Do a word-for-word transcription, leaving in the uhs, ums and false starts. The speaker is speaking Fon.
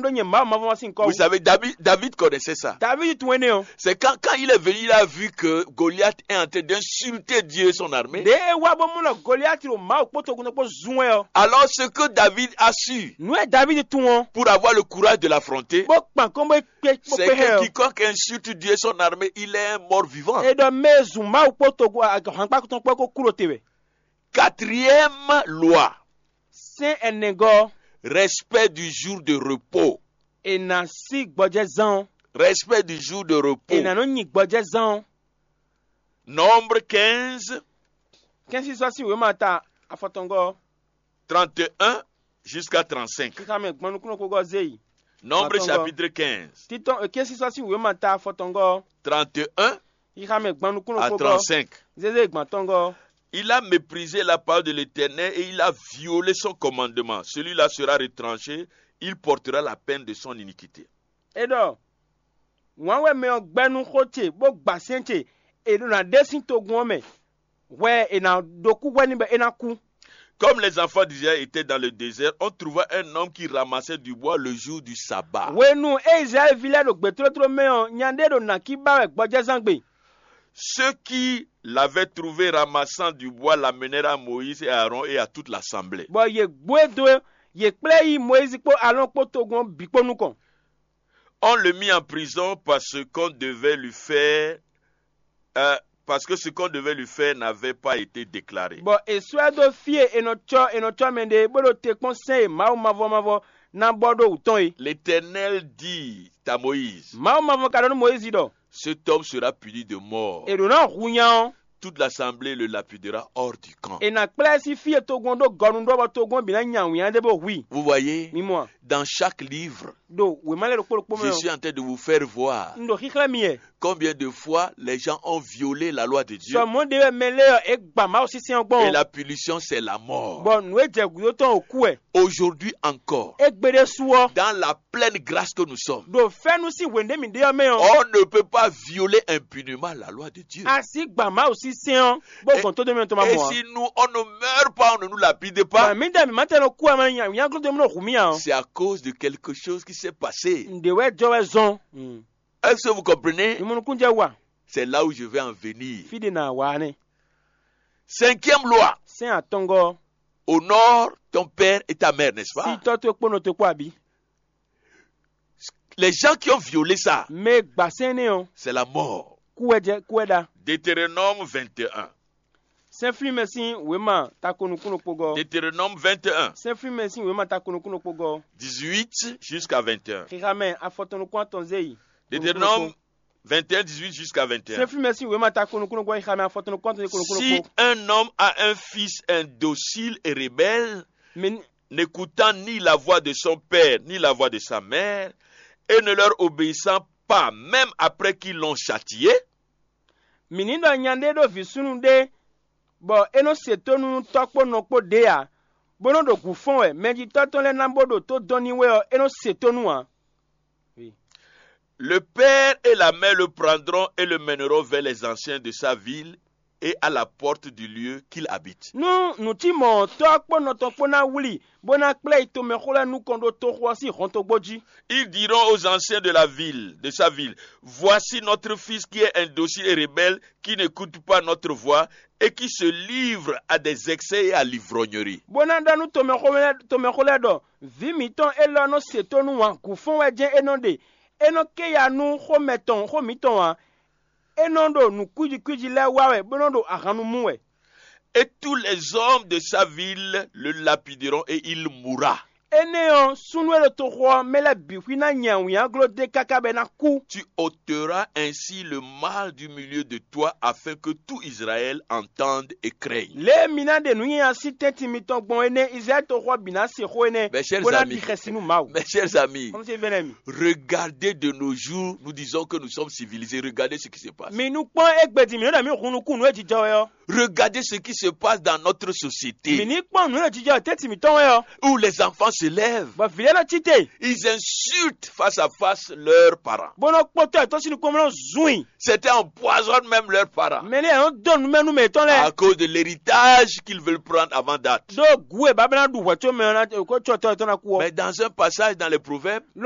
ɖó nyɛ Mawu mavɔ sín kɔ Vous wú. Savez, David, David connaissait ça. David tunwun énɛ́ ɔ́. C'est quand, quand il est venu, il a vu que Goliath est en train d'insulter Dieu et son armée. Ɖě é wá bó mɔ ɖɔ Goliati ɖo Mawu kpó togun tɔn kpó zun wɛ ɔ́. Alors, ce que David a su Nǔ e David tunwun ɔ́, pour avoir le courage de l'affronter, bó kpan kɔn bó kpé bó c'est kpé hɛ que ɔ́. Quiconque insulte Dieu et son armée, il est un mort vivant. É ɖɔ mɛ e zun Mawu kpó togun ahwankpá tɔn kpó kó kú ɖo te wɛ. Quatrième loi, Sɛ́n ɛnɛgɔ́, respect du jour de repos. È nǎ sí gbɔjɛzán ɔ́. Respect du jour de repos. È nǎ nɔ nyi gbɔjɛzán ɔ́. Nombre quinze, Kɛ́nsísɔ́ sín wěma ta afɔtɔngɔ́ ɔ́, trente et un jusqu'à trente-cinq. Xixa mɛ gbɔn nukúnnú xógɔ́ zé yi. Nombre Atɔngɔ́. Chapitre quinze, Títɔn kɛ́nsísɔ́ sín wěma ta afɔtɔngɔ́ ɔ́, trente et un xixa mɛ gbɔn nukúnnú à xógɔ́ trente-cinq. Zézé gbɔn atɔngɔ́ ɔ́. Il a méprisé la parole de l'Éternel et il a violé son commandement. Celui-là sera retranché, il portera la peine de son iniquité. É ɖɔ: Wǎn wɛ mɛ ɔ́ gbɛ́ nú xó ce bó gba sɛ́n ce, è ɖo ná ɖe sín togun ɔ́ mɛ, hwɛ è nǎ ɖó kú hwɛ n'i bɔ é ná kú. Comme les enfants d'Israël étaient dans le désert, on trouva un homme qui ramassait du bois le jour du sabbat. Hwenu e Izlayɛ́li ví lɛ́ɛ ɖo gbětótló mɛ ɔ́, nya ɖé ɖo nǎkí ba wɛ gbɔjɛzán gbe. Ceux qui l'avaient trouvé ramassant du bois l'amenèrent à Moïse et à Aaron et à toute l'assemblée. Bɔ yě gbó e dó, yě kplá ɛ yi Mɔyízi kpó Alɔ́ɔn kpó togun ɔ́ bǐ kpó nukɔn. On le mit en prison parce qu'on devait lui faire, euh, parce que ce qu'on devait lui faire n'avait pas été déclaré. Bɔ è sɔ́ ɛ dó fí e è nɔ cɔ́ è nɔ cɔ́ mɛ ɖe é, bó ɖo te kpɔ́n sɛ́n e Mawu mavɔ mavɔ ná bɔ ɖó wǔ tɔn é. L'Éternel dit à Moïse, Mawu mavɔ ka ɖɔ nú Mɔyízi ɖɔ: Cet homme sera puni de mort. È ɖǒ ná hu nya ɔ́. Toute l'assemblée le lapidera hors du camp. È nǎ kplá ɛ sín fí e togun ɔ́ ɖó gɔnu ɖɔ bɔ togun ɔ́ bǐ ná nya wǐnnya ɖé bó hu i. Vous voyez, mi mɔ a? Dans chaque livre, Ɖo wěma lɛ́ɛ ɖokpó ɖokpó mɛ je ɔ́, suis en train de vous faire voir un ɖo xíxlɛ́ mi wɛ. Combien de fois les gens ont violé la loi de Dieu. Sɔ mɔ̌ ɖé wɛ mɛ lɛ́ɛ ɔ́ é gba Mawu sínsɛ́n ɔ́ gbɔn. Et la punition, c'est la mort. Bɔ nǔ e jɛ gǔdo tɔn ɔ́ kú wɛ. Aujourd'hui encore, égbé ɖésú ɔ́, dans la pleine grâce que nous sommes, ɖo fɛ́nú sín hwěndé mǐ ɖe ɔ́ mɛ ɔ́, on ne peut pas violer impunément la loi de Dieu. A sǐ gba Mawu sín sɛ́n ɔ́ bó gbɔn tó dó mɛ tɔn ma mɔ ǎ. Et si nous, on ne meurt pas, on ne nous lapide pas, mǐ ɖɔ mǐ ma tɛn nɔ kú ǎ, ma nyaglo dó mì nɔ hu mì ǎ ɔ́. C'est à cause de quelque chose qui s'est passé. Nǔɖé wɛ jɔ wɛ zɔn. Est-ce que vous comprenez? Mi mɔ nukúnnú jɛ wa. C'est là où je vais en venir. Fí ɖé nǎ wá nɛ́. Cinquième loi. Sɛ́n atɔngɔ́. Honore ton père et ta mère, n'est-ce pas? Sí tɔ́ towe kpó nɔ towe kpó abǐ. Les gens qui ont violé ça, mɛ e gbǎ sɛ́n énɛ́ ɔ́, c'est la mort. Kú wɛ jɛ kú wɛ ɖa. Deutéronome vingt et un. Sɛ́nflímɛ sín wěma tako nukúnnú kpogɔ́. Deutéronome vingt et un, Sɛ́nflímɛ sín wěma tako nukúnnú kpogɔ́. Dix-huit jusqu'à vingt et un. Xixamɛ afɔtɔn nukún atɔn zé yi. Deutéronome vingt et un, dix-huit jusqu'à vingt et un. Sɛ́nflímɛ sín wěma tako nukúnnú kpogɔ́, xixamɛ afɔtɔn nukún atɔn zé yi ko nukúnnú kpó. Si un homme a un fils indocile et rebelle, Mi, n'écoutant ni la voix de son père, ni la voix de sa mère, et ne leur obéissant pas, même après qu'ils l'ont châtié, mǐ ní ɖɔ nya ɖé ɖó vǐ súnnu ɖé, bɔ é nɔ se tónú nú tɔ́ kpó nɔ kpó ɖě ǎ, bó nɔ́ ɖo gǔ fɔ́n wɛ, mɛjitɔ́ tɔn lɛ́ɛ ná bó ɖo tó dɔn n'i wɛ ɔ́, é nɔ se tónú ǎ. Le père et la mère le prendront et le mèneront vers les anciens de sa ville et à la porte du lieu qu'il habite. Nú nǔ cí mɔ̌ ɔ́, tɔ́ ɔ́ kpó nɔ tɔn kpó ná wlí, bó ná kplá yi tomɛxó lɛ́ɛ nukɔn ɖó toxo ɔ́ sín hɔntogbó jí. Ils diront aux anciens de la ville, de sa ville, voici notre fils qui est indocile et rebelle, qui n'écoute pas notre voix et qui se livre à des excès et à l'ivrognerie. Bó ná ɖɔ nú tomɛxó lɛ́ɛ ɖɔ: Vǐ mǐtɔn élɔ́ nɔ se tónú wǎn gǔ fɔ́n wɛ jɛ́n é nɔ ɖe; é nɔ ké ya nú xó mɛtɔn xó mǐtɔn ǎ; é nɔ ɖo nǔ kwíji kwíji lɛ́ɛ wa wɛ, bó nɔ ɖo ahan nu mú wɛ. Et tous les hommes de sa ville le lapideront et il mourra. Énɛ́ ɔ́, súnnu e ɖo toxo ɔ́ mɛ lɛ́ɛ bǐ xwí ná nya wǐnyagló d'é káká bɔ é ná kú. Tu ôteras ainsi le mal du milieu de toi, afin que tout Israël entende et craigne. Lě e mi ná ɖe nǔ nyanya sín tɛ́ntin mitɔn gbɔn énɛ́, Izlayɛ́li toxo ɔ́ bǐ ná se xó énɛ́, Mes chers bó ná amis, ɖi xɛsi nú Mawu. Mes chers amis, Kɔmísí vɛ́nɛ́ mi. Regardez de nos jours, nous disons que nous sommes civilisés. Regardez ce qui se passe. Mi nú kpɔ́n égbé din mǐ nɔ ɖɔ mǐ hun nukún nǔ e jijɔ wɛ ɔ́. Regardez ce qui se passe dans notre société. Mǐ ní kpɔ́n nǔ e jijɔ tɛ́ntin mǐtɔn wɛ ɔ́. Où les enfants se lèvent. Bɔ vǐ lɛ́ɛ nɔ cí te. Ils insultent face à face leurs parents. Bó nɔ kpɔ́n tɔ́ yětɔn sín nukɔn bó nɔ zun i. Certains empoisonnent même leurs parents. Mɛ ní yɛ nɔ dó nǔ mɛ nú mɛ yětɔn lɛ́ɛ. À cause de l'héritage qu'ils veulent prendre avant date. Ɖó gǔ e babá ná ɖu hwɛ̌ có mɛ ɔ́ ná kó có tɔ́ yětɔn ná kú ɔ́. Mais dans un passage dans les Proverbes,